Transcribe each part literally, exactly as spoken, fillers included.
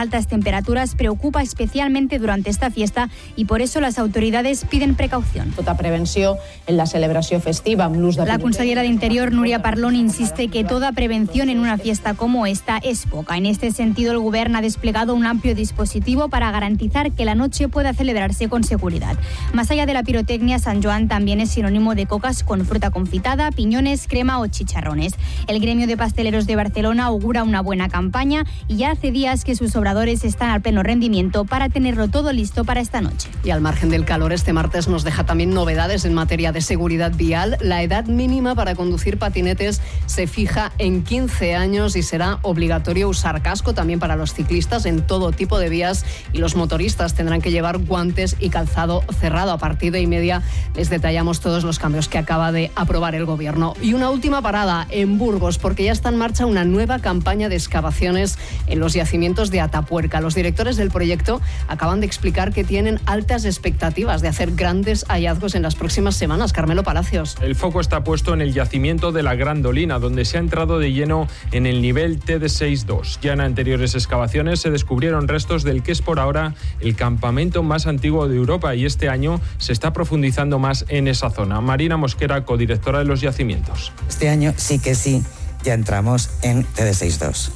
altas temperaturas preocupa especialmente durante esta fiesta y por eso las autoridades piden precaución. Tota prevenció en la celebració festiva amb l'ús de... La consellera de Interior, Núria Parlon, insiste que toda prevención en una fiesta como esta es poca. En este sentido, el Gobierno ha desplegado un amplio dispositivo para garantizar que la noche pueda celebrarse con seguridad. Más allá de la pirotecnia, San Joan también es sinónimo de cocas con fruta confitada, piñones, crema o chicharrones. El gremio de pasteleros de Barcelona augura una buena campaña y ya hace días que sus obradores están al pleno rendimiento para tenerlo todo listo para esta noche. Y al margen del calor, este martes nos deja también novedades en materia de seguridad vial. La edad mínima para conducir patinetes se fija en quince años y será obligatorio usar casco también para los ciclistas en todo tipo de vías, y los motoristas tendrán que llevar guantes y calzado cerrado. A partir de y media les detallamos todos los cambios que acaba de aprobar el Gobierno. Y una última parada en Burgos, porque ya está en marcha una nueva campaña de excavaciones en los yacimientos de Atapuerca. Los directores del proyecto acaban de explicar que tienen altas expectativas de hacer grandes hallazgos en las próximas semanas. Carmelo Palacios. El foco está puesto en el yacimiento de la Grandolina, donde se ha entrado de lleno en el nivel T D seis dos. Ya en anteriores excavaciones se descubrieron restos del que es por ahora el campamento más antiguo de Europa, y este año se está profundizando más en esa zona. Marina Mosquera, codirectora de los yacimientos. Este año sí que sí, ya entramos en T D seis dos.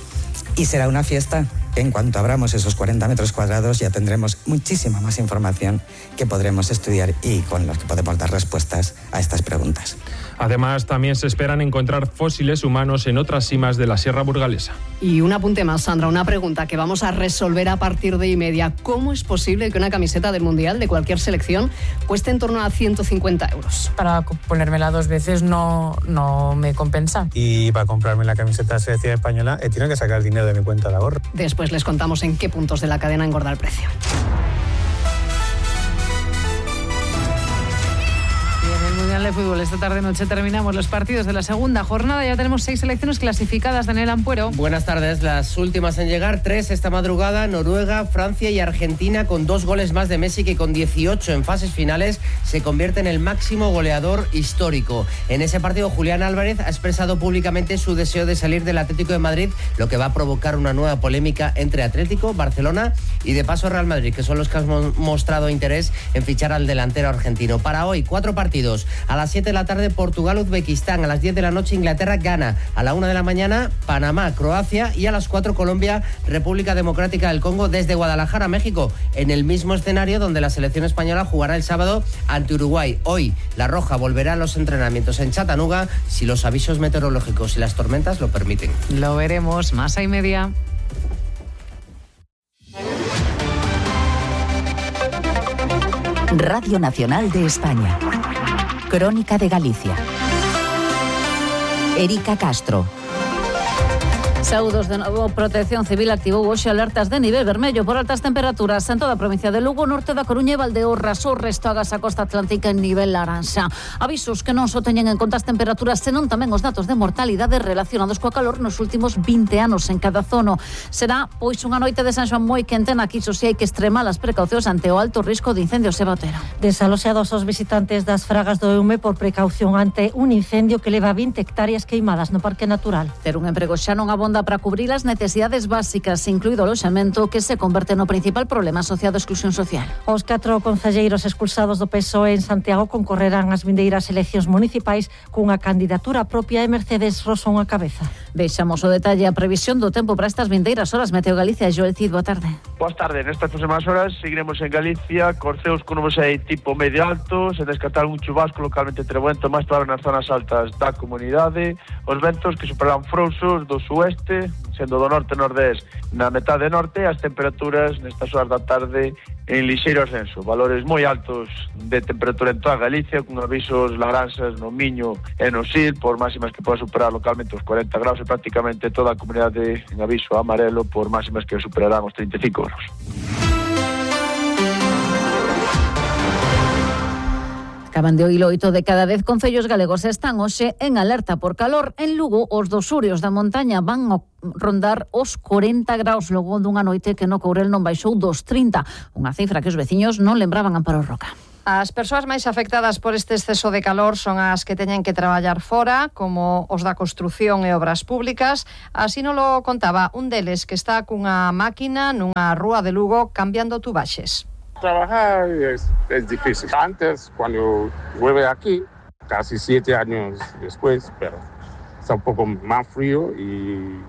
Y será una fiesta que en cuanto abramos esos cuarenta metros cuadrados ya tendremos muchísima más información que podremos estudiar y con los que podemos dar respuestas a estas preguntas. Además, también se esperan encontrar fósiles humanos en otras simas de la Sierra Burgalesa. Y un apunte más, Sandra, una pregunta que vamos a resolver a partir de y media. ¿Cómo es posible que una camiseta del Mundial de cualquier selección cueste en torno a ciento cincuenta euros? Para ponérmela dos veces no, no me compensa. Y para comprarme la camiseta de la selección española he tenido que sacar dinero de mi cuenta de ahorro. Después les contamos en qué puntos de la cadena engorda el precio. De fútbol, esta tarde-noche terminamos los partidos de la segunda jornada. Ya tenemos seis selecciones clasificadas. Daniel Ampuero. Buenas tardes. Las últimas en llegar, tres esta madrugada: Noruega, Francia y Argentina, con dos goles más de Messi, que con dieciocho en fases finales se convierte en el máximo goleador histórico. En ese partido, Julián Álvarez ha expresado públicamente su deseo de salir del Atlético de Madrid, lo que va a provocar una nueva polémica entre Atlético, Barcelona y de paso Real Madrid, que son los que han mostrado interés en fichar al delantero argentino. Para hoy, cuatro partidos. A las siete de la tarde, Portugal-Uzbekistán. A las diez de la noche, Inglaterra-Ghana. A la una de la mañana, Panamá-Croacia. Y a las cuatro, Colombia-República Democrática del Congo, desde Guadalajara, México, en el mismo escenario donde la selección española jugará el sábado ante Uruguay. Hoy, la Roja volverá a los entrenamientos en Chattanooga, si los avisos meteorológicos y las tormentas lo permiten. Lo veremos. Más y media. Radio Nacional de España. Crónica de Galicia. Erika Castro. Saúdos de novo. Protección Civil activou hoxe alertas de nivel vermello por altas temperaturas en toda a provincia de Lugo, norte da Coruña e Valdeorras. O resto agas a costa atlántica en nivel laranxa. Avisos que non só teñen en conta as temperaturas, senón tamén os datos de mortalidade relacionados coa calor nos últimos vinte anos en cada zona. Será pois unha noite de San Xoán moi quente na que iso si hai que extremar as precaucións ante o alto risco de incendios e batera. Desaloxados os visitantes das Fragas do Eume por precaución ante un incendio que leva vinte hectáreas queimadas no Parque Natural. Ter un emprego xa non abonda para cubrir as necesidades básicas, incluído o loxamento, que se converte no principal problema asociado á exclusión social. Os catro concelleiros expulsados do P S O E en Santiago concorrerán ás vindeiras eleccións municipais cunha candidatura propia e Mercedes Rosón a cabeza. Deixamos o detalle a previsión do tempo para estas vindeiras horas. Meteo Galicia, Joel Cid, boa tarde. Boas tardes. Nestas próximas horas seguiremos en Galicia, corceos con nubes aí tipo medio alto, sen descartar un chubasco localmente trebento máis probable nas zonas altas da comunidade. Os ventos que superarán frouxos do sueste, sendo do norte-nordés na metade norte, as temperaturas nestas horas da tarde en lixeiro ascenso. Valores moi altos de temperatura en toda Galicia, con avisos laranxas no Miño e no Sil, por máximas que poden superar localmente os cuarenta graus, e prácticamente toda a comunidade en aviso amarelo por máximas que superarán os treinta e cinco graus. Acaban de oír oito de cada dez concellos galegos están hoxe en alerta por calor. En Lugo, os dos Surios da montaña van a rondar os cuarenta graus logo dunha noite que no Courel non baixou dos trinta, unha cifra que os veciños non lembraban Amparo Roca. As persoas máis afectadas por este exceso de calor son as que teñen que traballar fora, como os da construción e obras públicas. Así non lo contaba un deles que está cunha máquina nunha rúa de Lugo cambiando tubaxes. Trabajar es, es difícil. Antes, cuando llueve aquí, casi siete años después, pero está un poco más frío y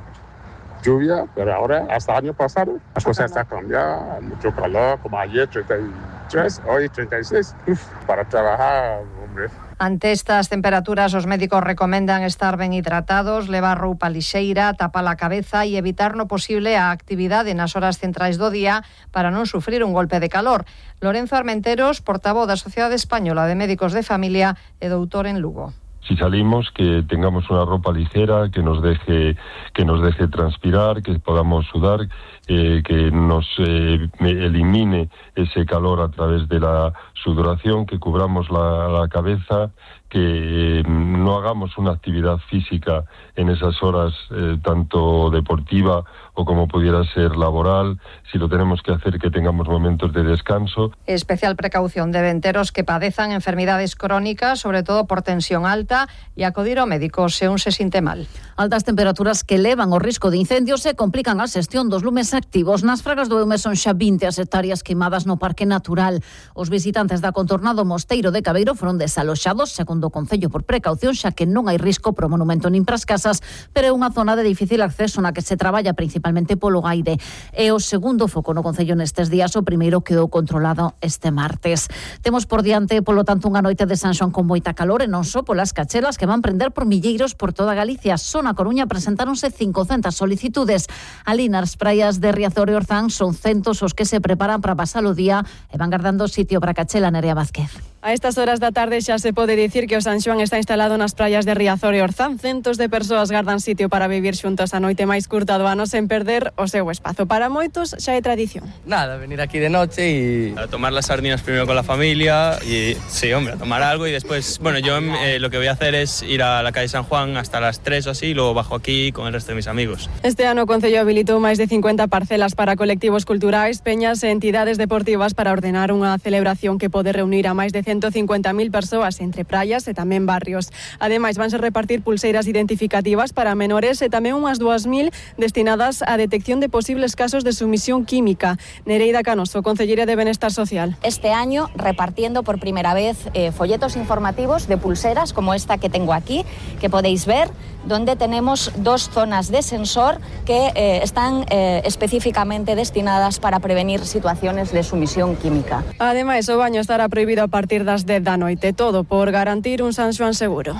lluvia, pero ahora, hasta el año pasado, la cosa está cambiada, mucho calor, como ayer, treinta y tres, hoy treinta y seis. Uf, para trabajar, hombre. Ante estas temperaturas, os médicos recomendan estar ben hidratados, levar roupa lixeira, tapar a cabeza e evitar no posible a actividade nas horas centrais do día para non sufrir un golpe de calor. Lorenzo Armenteros, portavoz da Sociedade Española de Médicos de Familia e doutor en Lugo. Si salimos, que tengamos una ropa ligera, que nos deje, que nos deje transpirar, que podamos sudar, eh, que nos eh, elimine ese calor a través de la sudoración, que cubramos la, la cabeza, que eh, no hagamos una actividad física en esas horas, eh, tanto deportiva o como pudiera ser laboral. Si lo tenemos que hacer, que tengamos momentos de descanso. Especial precaución deben ter os que padezan enfermidades crónicas, sobre todo por tensión alta, e acudir ao médico se un se sinte mal. Altas temperaturas que elevan o risco de incendios e complican a xestión dos lumes activos. Nas Fragas do Eume son xa vinte as hectáreas queimadas no Parque Natural. Os visitantes da contornado Mosteiro de Cabeiro foron desaloxados, segundo o Concello, por precaución, xa que non hai risco pro monumento nin pras casas, pero é unha zona de difícil acceso na que se traballa principalmente polo aire. É o segundo foco no Concello nestes días, o primeiro quedou controlado este martes. Temos por diante, polo tanto, unha noite de San Xoán con moita calor e non só polas cachelas que van prender por milleiros por toda Galicia. Só na Coruña presentáronse cincocentas solicitudes. Ali nas praias de Riazor e Orzán son centos os que se preparan para pasar o día e van guardando sitio para cachela. Nerea Vázquez. A estas horas da tarde xa se pode dicir que o San Xoán está instalado nas praias de Riazor e Orzán. Centos de persoas gardan sitio para vivir xuntos a noite máis curta do ano sen perder o seu espazo. Para moitos xa é tradición. Nada, venir aquí de noche y a tomar las sardinas primero con la familia y sí, hombre, a tomar algo y después, bueno, yo eh, lo que voy a hacer es ir a la calle San Juan hasta las tres o así y luego bajo aquí con el resto de mis amigos. Este ano o Concello habilitou máis de cincuenta parcelas para colectivos culturais, peñas e entidades deportivas para ordenar unha celebración que pode reunir a máis de ciento cincuenta mil persoas entre praias e tamén barrios. Ademais, vanse repartir pulseiras identificativas para menores e tamén unhas dúas mil destinadas á detección de posibles casos de sumisión química. Nereida Canoso, concelleira de Benestar Social. Este año repartiendo por primera vez eh, folletos informativos de pulseras como esta que tengo aquí, que podéis ver, donde tenemos dos zonas de sensor que eh, están eh, específicamente destinadas para prevenir situaciones de sumisión química. Ademais, o baño estará prohibido a partir das dez da noite, todo por garantir un San Xoán seguro.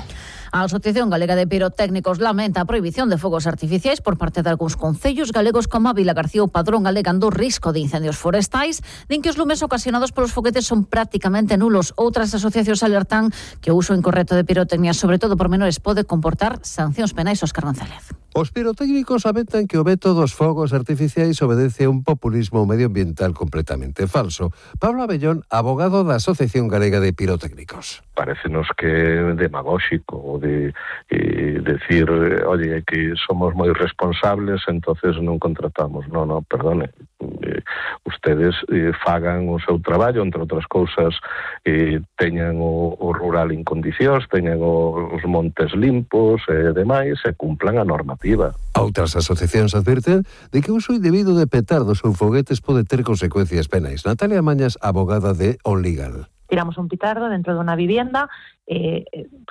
A Asociación Galega de Pirotécnicos lamenta a prohibición de fogos artificiais por parte de algúns concellos galegos como a Vila García ou Padrón, alegando risco de incendios forestais. Din que os lumes ocasionados polos foguetes son prácticamente nulos. Outras asociacións alertan que o uso incorrecto de pirotecnia, sobre todo por menores, pode comportar sancións penais. Óscar González. Os pirotécnicos aventan que o veto dos fogos artificiais obedece a un populismo medioambiental completamente falso. Pablo Abellón, abogado da Asociación Galega de Pirotécnicos. Parécenos que é demagóxico de eh, decir, oye, que somos moi responsables, entonces non contratamos. No, no, perdone. Eh, ustedes eh, fagan o seu traballo, entre outras cousas, eh, teñan o, o rural en condicións, teñan o, os montes limpos e eh, demais, e cumplan a normativa. Outras asociacións advirten de que o uso indebido de petardos ou foguetes pode ter consecuencias penais. Natalia Mañas, abogada de OnLegal. Tiramos un petardo dentro de una vivienda, eh,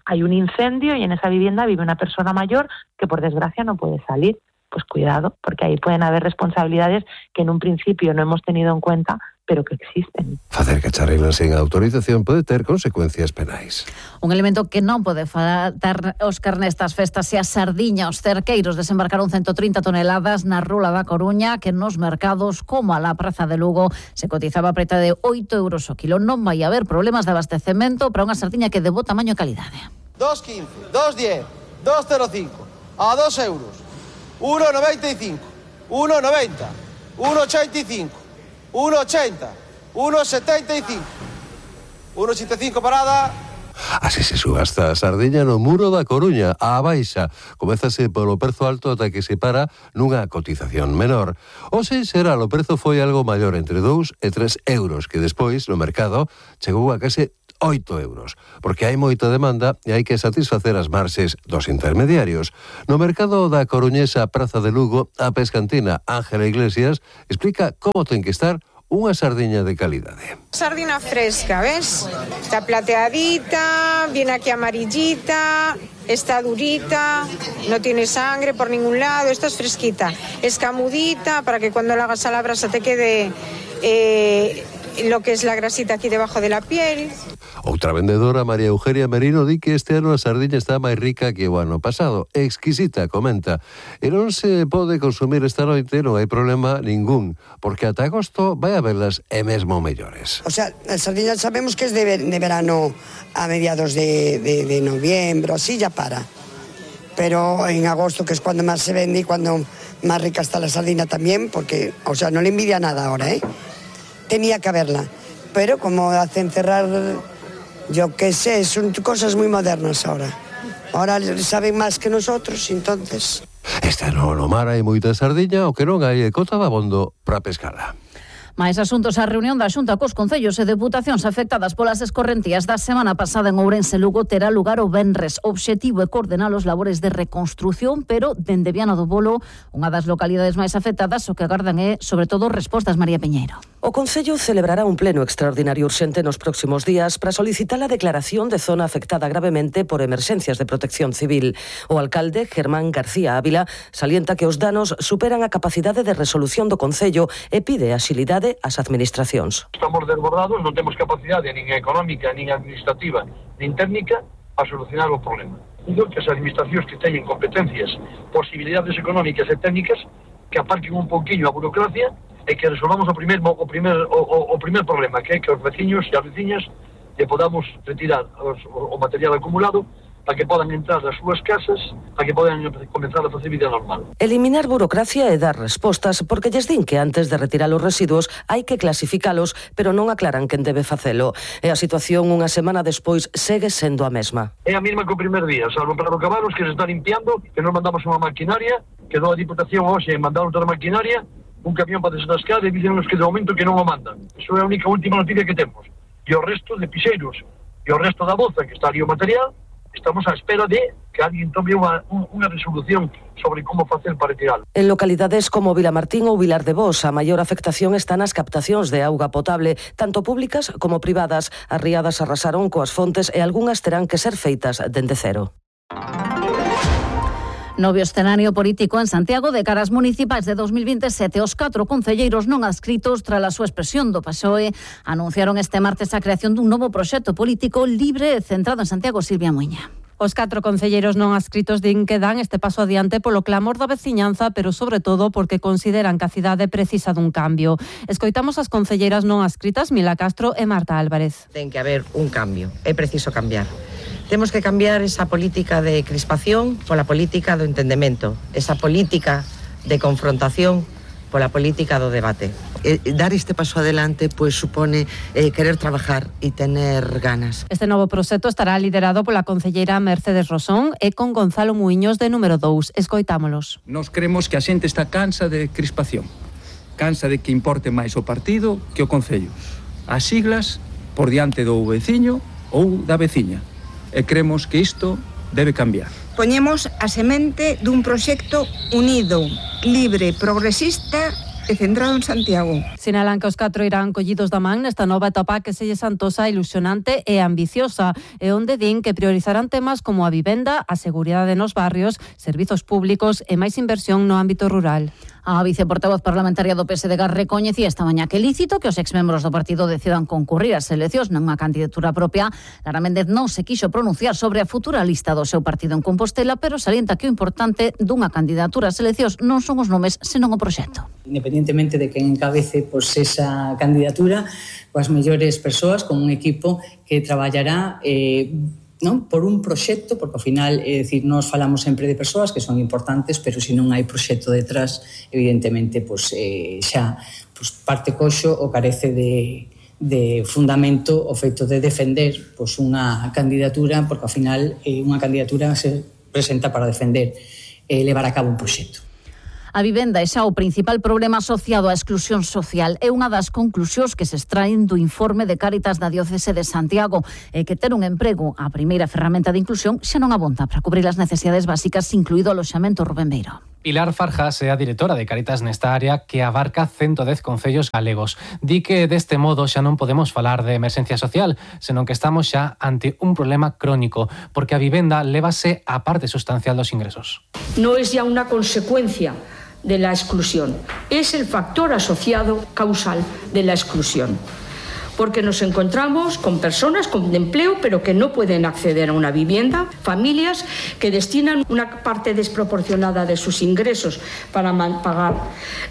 hay un incendio y en esa vivienda vive una persona mayor que por desgracia no puede salir. Pues cuidado, porque ahí pueden haber responsabilidades que en un principio no hemos tenido en cuenta, pero que existen. Facer cacharreiras sen autorización pode ter consecuencias penais. Un elemento que non pode faltar, Óscar, nestas festas e a sardiña. Os cerqueiros desembarcaron ciento trinta toneladas na rúa da Coruña, que nos mercados como a la Praza de Lugo se cotizaba a preta de oito euros o kilo. Non vai haber problemas de abastecemento para unha sardiña que de bo tamaño e calidade. dos quince, dos diez, dos cero cinco, a dos euros, uno noventa y cinco, uno noventa, uno ochenta y cinco, uno ochenta, uno setenta y cinco, uno ochenta y cinco parada, Así se subasta a sardiña no Muro da Coruña, á baixa. Comézase polo prezo alto ata que se para nunha cotización menor. Hoxe será o prezo foi algo maior, entre dous e tres euros, que despois no mercado chegou a case oito euros, porque hai moita demanda e hai que satisfacer as marxes dos intermediarios. No mercado da coruñesa Praza de Lugo, a pescantina Ángela Iglesias explica como ten que estar unha sardiña de calidade. Sardina fresca, ¿ves? Está plateadita, viene aquí amarillita, está durita, no tiene sangre por ningún lado, esta es fresquita, escamudita para que cuando la hagas a la brasa te quede eh, lo que es la grasita aquí debajo de la piel. Outra vendedora, María Eugenia Merino, di que este ano a sardiña está máis rica que o ano pasado. Exquisita, comenta. E non se pode consumir esta noite, non hai problema ningún, porque ata agosto vai a verlas e mesmo mellores. O sea, a sardiña sabemos que es de, ver, de verano a mediados de, de, de noviembre, así ya para. Pero en agosto, que es cuando más se vende y cuando más rica está la sardina también, porque, o sea, no le envidia nada ahora, ¿eh? Tenía que haberla. Pero como hacen cerrar... Yo qué sé, son cosas muy modernas ahora. Ahora saben más que nosotros, entonces... Este ano no mar hai moita sardiña, o que non hai é cota de abondo para pescala. Mais asuntos á reunión da Xunta cos concellos e deputacións afectadas polas escorrentías da semana pasada en Ourense Lugo terá lugar o venres. O obxectivo é coordenar os labores de reconstrución, pero dende Viana do Bolo, unha das localidades máis afectadas, o que agardan é, sobre todo, respostas. María Piñeiro. O Concello celebrará un pleno extraordinario urxente nos próximos días para solicitar a declaración de zona afectada gravemente por emerxencias de protección civil. O alcalde, Germán García Ávila, salienta que os danos superan a capacidade de resolución do Concello e pide axilidade ás administracións. Estamos desbordados, non temos capacidade nin económica, nin administrativa, nin técnica a solucionar o problema. Digo que as administracións que teñen competencias, posibilidades económicas e técnicas que aparquen un pouquiño a burocracia e que resolvamos o primer o primer o, o, o primer problema, que é que os veciños e as veciñas lle podamos retirar os, o, o material acumulado para que podan entrar nas súas casas, para que podan comenzar a facer vida normal. Eliminar burocracia e dar respostas, porque lles din que antes de retirar os residuos hai que clasificalos, pero non aclaran quen debe facelo. E a situación unha semana despois segue sendo a mesma. É a mesma que o primer día, salvo para os cabalos que se están limpiando, que nos mandamos unha maquinaria, quedou a Diputación hoxe en mandar outra maquinaria, un camión para desatascar e dicen-nos que de momento que non o mandan. Iso é a única última noticia que temos. E o resto de piseiros e o resto da bolsa que está ali o material, estamos á espera de que alguén tome unha, unha resolución sobre como facer para retiralo. En localidades como Vilamartín ou Vilar de Bos, a maior afectación está nas captacións de auga potable, tanto públicas como privadas. As riadas arrasaron coas fontes e algunhas terán que ser feitas dende cero. Novio escenario político en Santiago de caras municipais de dos mil veintisiete. Os catro concelleiros non adscritos tras a súa expresión do P S O E anunciaron este martes a creación dun novo proxecto político libre e centrado en Santiago. Silvia Muiña. Os catro concelleiros non adscritos din que dan este paso adiante polo clamor da veciñanza, pero sobre todo porque consideran que a cidade precisa dun cambio. Escoitamos as concelleiras non adscritas Mila Castro e Marta Álvarez. Ten que haber un cambio, é preciso cambiar. Temos que cambiar esa política de crispación pola política do entendemento, esa política de confrontación pola política do debate. Eh, dar este paso adelante pues supone eh, querer trabajar e tener ganas. Este novo proxecto estará liderado pola concelleira Mercedes Rosón e con Gonzalo Muiños de número dous. Escoitámolos. Nos creemos que a xente está cansa de crispación, cansa de que importe máis o partido que o concello. As siglas por diante do veciño ou da veciña. E cremos que isto debe cambiar. Poñemos a semente dun proxecto unido, libre, progresista e centrado en Santiago. Sinalan que os catro irán collidos da man nesta nova etapa que se lle santosa, ilusionante e ambiciosa, e onde din que priorizarán temas como a vivenda, a seguridade nos barrios, servizos públicos e máis inversión no ámbito rural. A viceportavoz parlamentaria do P S D G recoñecía esta mañá que é lícito que os exmembros do partido decidan concurrir ás eleccións nunha candidatura propia. Lara Méndez non se quixo pronunciar sobre a futura lista do seu partido en Compostela, pero salienta que o importante dunha candidatura ás eleccións non son os nomes, senón o proxecto. Independientemente de quen encabece pues, esa candidatura, coas mellores persoas, con un equipo que traballará eh, non por un proxecto, porque ao final, é dicir, nós falamos sempre de persoas que son importantes, pero se non hai proxecto detrás, evidentemente, pues, eh, xa pues, parte coxo ou carece de, de fundamento o feito de defender pois, unha candidatura, porque ao final eh, unha candidatura se presenta para defender e eh, levar a cabo un proxecto. A vivenda é xa o principal problema asociado á exclusión social. É unha das conclusións que se extraen do informe de Cáritas da Diocese de Santiago e que ter un emprego, a primeira ferramenta de inclusión, xa non abonda para cubrir as necesidades básicas, incluído o aloxamento. Rubén Beiro. Pilar Farjas é a directora de Cáritas nesta área que abarca ciento dez concellos galegos. Di que deste modo xa non podemos falar de emerxencia social, senón que estamos xa ante un problema crónico, porque a vivenda lévase a parte sustancial dos ingresos. No es ya una consecuencia de la exclusión, es el factor asociado causal de la exclusión. Porque nos encontramos con personas con empleo pero que no pueden acceder a una vivienda, familias que destinan una parte desproporcionada de sus ingresos para pagar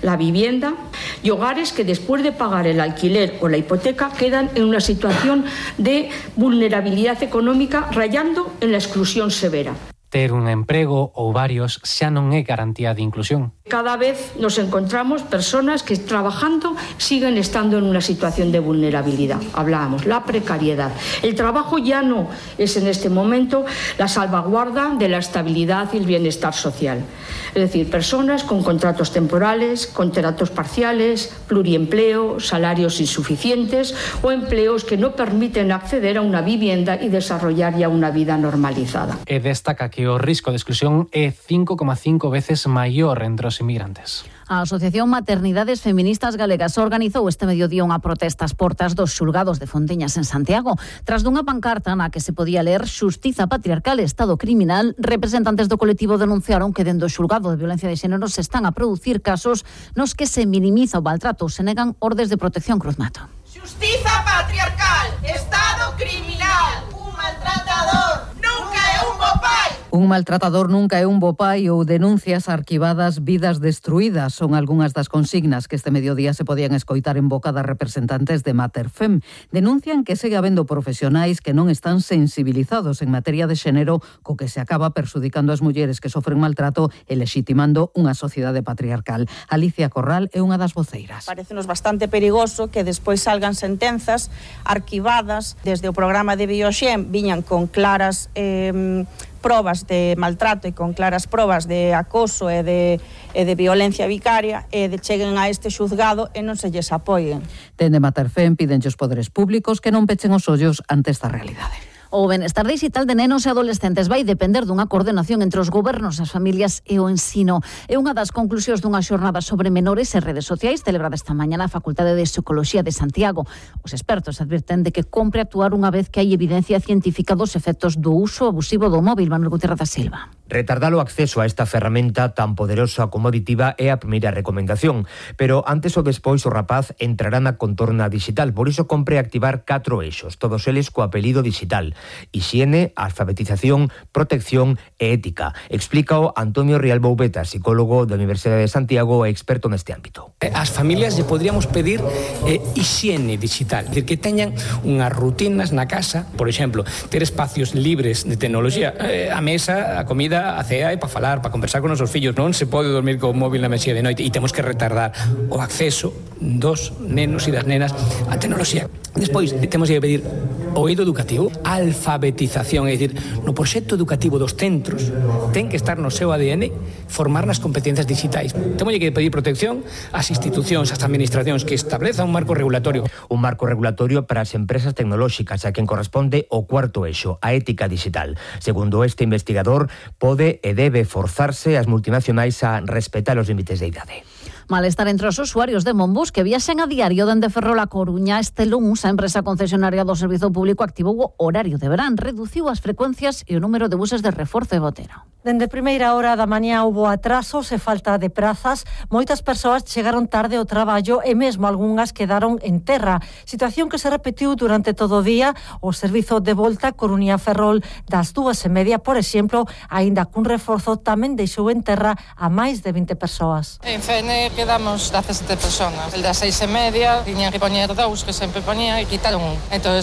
la vivienda y hogares que después de pagar el alquiler o la hipoteca quedan en una situación de vulnerabilidad económica rayando en la exclusión severa. Ter un emprego ou varios xa non é garantía de inclusión. Cada vez nos encontramos personas que trabajando siguen estando en una situación de vulnerabilidad. Hablábamos, la precariedad. El trabajo ya no es en este momento la salvaguarda de la estabilidad y el bienestar social. Es decir, personas con contratos temporales, contratos parciales, pluriempleo, salarios insuficientes o empleos que no permiten acceder a una vivienda y desarrollar ya una vida normalizada. E destaca que o risco de exclusión é cinco coma cinco veces maior entre os inmigrantes. A Asociación Maternidades Feministas Galegas organizou este mediodía unha protesta ás portas dos xulgados de Fonteñas en Santiago. Tras dunha pancarta na que se podía ler Xustiza patriarcal e Estado criminal, representantes do colectivo denunciaron que dentro do xulgado de violencia de xénero se están a producir casos nos que se minimiza o maltrato, se negan ordes de protección. Cruz Mato. Xustiza patriarcal, Estado criminal, un maltratador nunca é un bo pai. Un maltratador nunca é un bo pai ou denuncias arquivadas, vidas destruídas son algunhas das consignas que este mediodía se podían escoitar en boca das representantes de Materfem. Denuncian que segue habendo profesionais que non están sensibilizados en materia de xénero, co que se acaba perxudicando as mulleres que sofren maltrato e lexitimando unha sociedade patriarcal. Alicia Corral é unha das voceiras. Parécenos bastante perigoso que despois salgan sentenzas arquivadas desde o programa de Bioxen, viñan con claras eh, probas de maltrato e con claras probas de acoso e de, e de violencia vicaria e de cheguen a este xuzgado e non se lles apoien. Dende Materfem piden os poderes públicos que non pechen os ollos ante esta realidade. O benestar digital de nenos e adolescentes vai depender dunha coordenación entre os gobernos, as familias e o ensino. É unha das conclusións dunha xornada sobre menores e redes sociais celebrada esta mañá na Facultade de Psicología de Santiago. Os expertos advirten de que compre actuar unha vez que hai evidencia científica dos efectos do uso abusivo do móvil. Manuel Gutiérrez da Silva. Retardar o acceso a esta ferramenta tan poderosa como aditiva é a primeira recomendación, pero antes ou despois o rapaz entrará na contorna digital, por iso compre activar catro eixos, todos eles co apelido digital: hixiene, alfabetización, protección e ética. Explícao Antonio Rial Boubeta, psicólogo da Universidade de Santiago e experto neste ámbito. As familias lle podríamos pedir eh, hixiene digital, decir, que teñan unhas rutinas na casa, por exemplo, ter espacios libres de tecnoloxía, eh, a mesa, a comida, a cea e para falar, para conversar con os nosos fillos. Non se pode dormir co móvil na mesía de noite e temos que retardar o acceso dos nenos e das nenas á tecnoloxía. Despois, temos que pedir o eido educativo, alfabetización, é dicir, no proxecto educativo dos centros ten que estar no seu A D N formar nas competencias digitais. Temos que pedir protección ás institucións, ás administracións que establezan un marco regulatorio. Un marco regulatorio para as empresas tecnolóxicas, a quen corresponde o cuarto eixo, a ética digital. Segundo este investigador, pode e debe forzarse as multinacionais a respetar os límites de idade. Malestar entre os usuarios de Monbus que viaxen a diario dende Ferrol a Coruña. Este luns a empresa concesionaria do Servizo Público activou o horario de verán, reduciu as frecuencias e o número de buses de reforzo e botero. Dende primeira hora da mañá houbo atrasos e falta de prazas. Moitas persoas chegaron tarde ao traballo e mesmo algunhas quedaron en terra. Situación que se repetiu durante todo o día. O servizo de volta Coruña-Ferrol das dúas e media, por exemplo, aínda cun reforzo, tamén deixou en terra a máis de vinte persoas. En Fener quedamos dezasete personas. El das seis e media, tiñan que poñer dous, que sempre poñía, e quitaron un. Entón,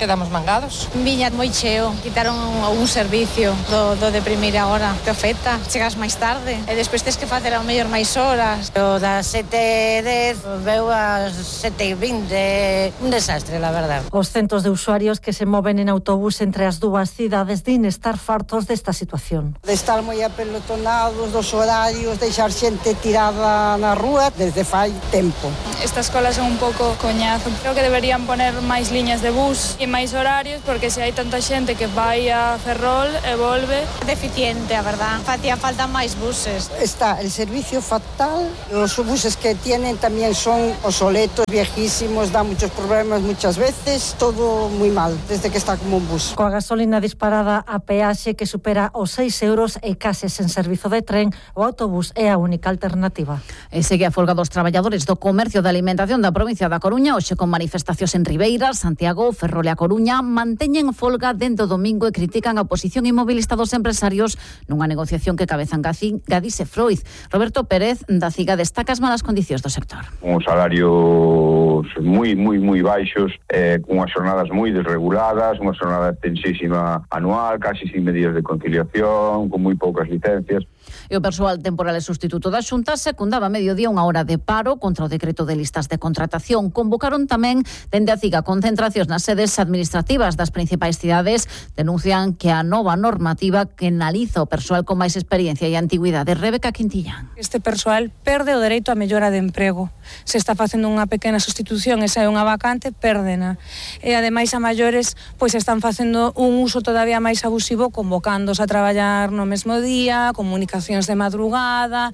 quedamos mangados. Viña moi cheo, quitaron un servicio do, do de primeira hora. Te ofeta, chegas máis tarde, e despois tens que facer ao mellor máis horas. O das sete e dez veu ás sete e vinte, un desastre, la verdad. Os centos de usuarios que se moven en autobús entre as dúas cidades din estar fartos desta situación. De estar moi apelotonados dos horarios, deixar xente tirada na rúa desde fai tempo. Estas colas son un pouco coñazo. Creo que deberían poner máis liñas de bus e máis horarios, porque se hai tanta xente que vai a Ferrol e volve... Deficiente, a verdad. Facía falta máis buses. Está el servicio fatal. Os buses que tienen tamén son obsoletos, viejísimos, dan muchos problemas muchas veces. Todo moi mal, desde que está como un bus. Coa gasolina disparada a peaxe que supera os seis euros e case sen servizo de tren, o autobús é a única alternativa. E segue a folga dos traballadores do comercio de alimentación da provincia da Coruña, hoxe con manifestacións en Ribeira, Santiago, Ferrol e a Coruña. Manteñen folga dentro do domingo e critican a oposición inmobilista dos empresarios nunha negociación que cabezan Gadis e Freud. Roberto Pérez, da CIGA, destaca as malas condicións do sector. Con salarios moi, moi, moi baixos, eh, con unhas jornadas moi desreguladas, unha jornada extensísima anual, casi sin medidas de conciliación, con moi poucas licencias. E o persoal temporal e sustituto da Xunta secundaba a mediodía unha hora de paro contra o decreto de listas de contratación. Convocaron tamén dende a CIGA concentracións nas sedes administrativas das principais cidades. Denuncian que a nova normativa que analiza o persoal con máis experiencia e antigüidade. Rebeca Quintillán. Este persoal perde o dereito a mellora de emprego. Se está facendo unha pequena sustitución e se hai unha vacante, pérdena. E ademais a maiores pois están facendo un uso todavía máis abusivo, convocándose a traballar no mesmo día, comunicacións de madrugada,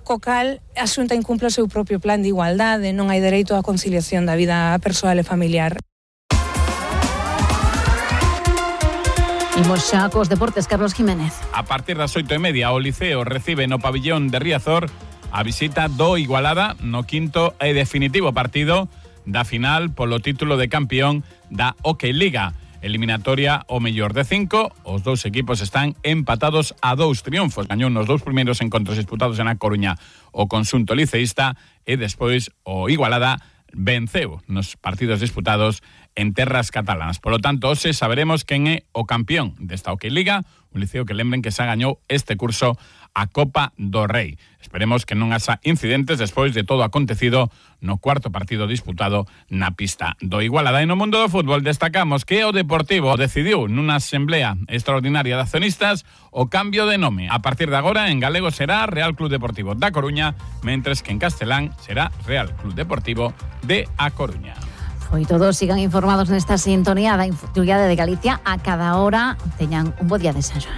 co cal a Xunta incumple o seu propio plan de igualdade, non hai dereito á conciliación da vida persoal e familiar. Imos xa cos deportes, Carlos Jiménez. A partir das oito e media, o Liceo recibe no pabillón de Riazor a visita do Igualada no quinto e definitivo partido da final polo título de campeón da Hockey Liga. Eliminatoria o mellor de cinco, os dous equipos están empatados a dous triunfos. Gañou nos dous primeiros encontros disputados en A Coruña o conxunto liceísta e despois o Igualada venceu nos partidos disputados en terras catalanas. Por lo tanto, hoxe saberemos quen é o campeón desta Hockey Liga, un Liceo que lembren que xa gañou este curso a Copa do Rei. Esperemos que non haxa incidentes despois de todo acontecido no cuarto partido disputado na pista do Igualada. E no mundo do fútbol destacamos que o Deportivo decidiu nunha asamblea extraordinaria de accionistas o cambio de nome. A partir de agora en galego será Real Club Deportivo da Coruña, mentres que en castelán será Real Club Deportivo de A Coruña. Foi todo, sigan informados nesta sintonía da Infoturía de Galicia a cada hora. Teñan un bo día de San Xoán.